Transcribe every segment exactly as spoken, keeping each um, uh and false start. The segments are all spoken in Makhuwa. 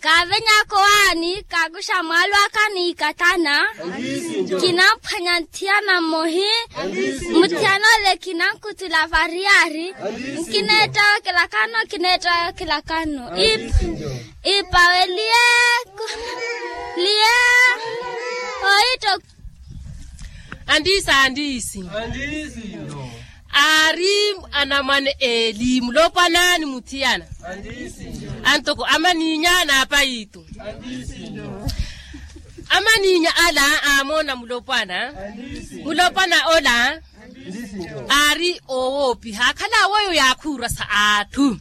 Kaavenyaka owaani kaakuxa mwaalo aka ni ikatana. Kinamphwanya nthiyana mmohi. Muthiyana ole kinankutula variyari. Nkineetta okilakano kineetta okilakano. Ipawe liye. Liye. Ohitta. Andiisi andiisi. Aari anamwane eeli mulopwana ni muthiyana. Antoko amaniinya n'apayitu. Amaniinya ala aamoona mulopwana. Mulopwana ola aari oowoopiha akhala aweyo yaakhuurasa atthu.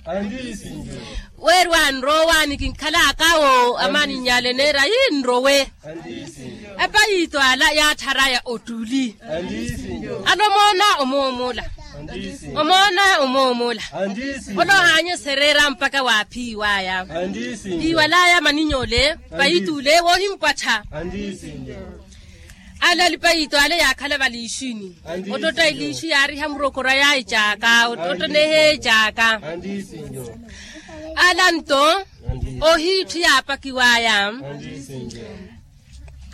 Weeriwa nrowaani kinkhalaka awo amaniinya ale neera ii nrowe. Apayitu ala yaatharaya ottuli. Ala omoona omoomola. Omoona omoomola. Ola ohaanyesereera mpakha waaphiiwaya. Iwalaya maninyoole. Payitu ole woohimpwattha. Ala alipayitu ale yaakhala valiixini. Ottotta iliixi yaariha murokora yaahicaaka ottotta neeheecaaka. Ala nto ohiitthu yaapakiwaya.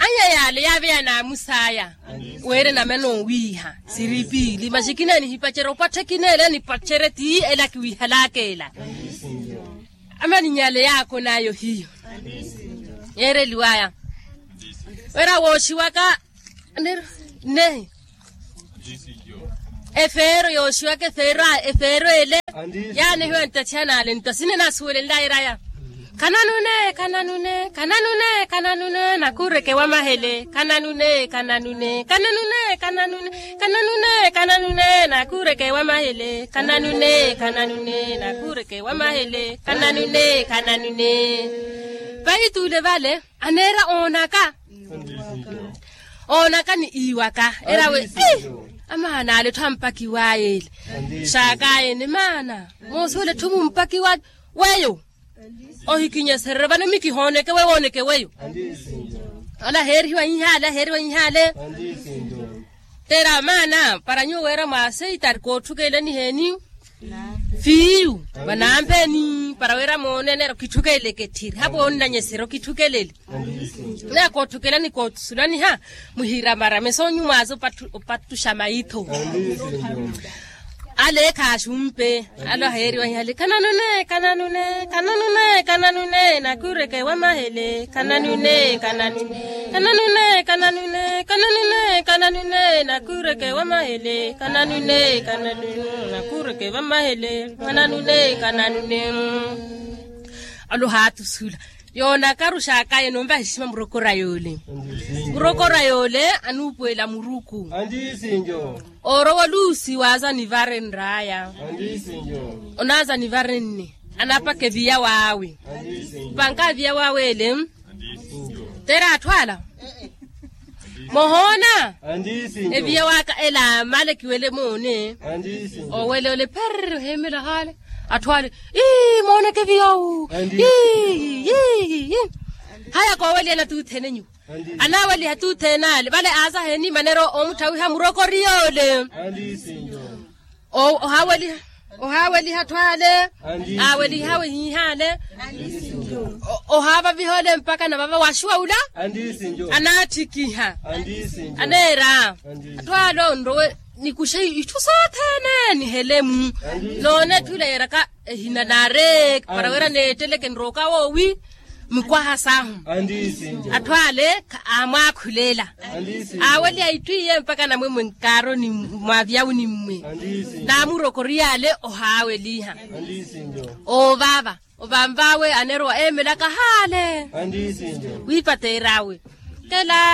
Anya yaale yaaveya naamusaya. Weere namana owiiha siripiili maxi kina nihipacerya opwatthe kina ela nipacerye ti ela kiwiihalaka ela. Amaninyale yaakon'aya ohiyo. Yeereliwaya wira wooxiwaka nehi. Efeero yooxiwaka efeero ele yaanehiwa nttathiyana ale ntta sine naasuwelenlaya eraya. Khananune khananune khananune khananune nakuureke wamahele khananune khananune khananune khananune khananune khananune nakuureke wamahele khananune khananune nakuureke wamahele khananune khananune. Paitule vale aneera oonaka. Oonaka ni iwaka era we. Amaana ale etthu ampakiwaya ele saakayene maana moosuwela etthu mumpakiwaya. Weyo ohikinyesererye vano mikihooneke weyo wooneke weyo. Ala aheerihiwa inhaale aheerihiwa inhaale. Tera maana para nyuwo weera mwaaseitari kootthukelani heeni fiiyu vanampeni para weera moone neera okitthukeleke tthiri hapo onnanyeserya okitthukelele. Neera kootthukelani koottusulaniha muhiramarame soonyumwaaza opattuxa maitho. Ale khaaxumpe ale oheeriwa inhale khananune khananune khananune khananune nakuureke wamahele khananune khananune khananune khananune khananune khananune nakuureke wamahele khananune khananune nakuureke wamahele khananune khananune. Alo haatusula yoonakaru xaakaye noomvaha exima murokora yoole. Murokora yoole anuupuwela muruku. Oorowa oluusi waaza nivare nraaya. Onaaza nivare nne anapaka eviya waawe. Mpanka eviya waawe ele tera atthu ala mohoona. Eviya waaka ela male kiwele moone. Owele ole pherr oheemela haale atthu ale ii mooneke eviya owu. Ii ii ii. Haya koowelihana tuuthene nyuwo anaaweliha tuuthene ale vale aaza heeni maneero oomutthawihya murokori yoole. Ohaaweliha ohaaweliha atthu ale aawelihawe hiihaale. Ohaavaviha ole mpakha navava waaxiwa ula anaattikiha. Aneera atthu ale onrowe nikuxe itthu sothene nihele-mu. Noone etthu ila yeeraka ehina naare para wira neetteleke nrooka woowi mikwaha sahu. Atthu ale aamwaakhulela aaweliha itthu iye mpakha namwemwe nkaaroni mwa viyawuni mmwe. Naamurokoriye ale ohaaweliha oovava ovanvawe aneerowa eemelaka haale. Wiipateer'awe kela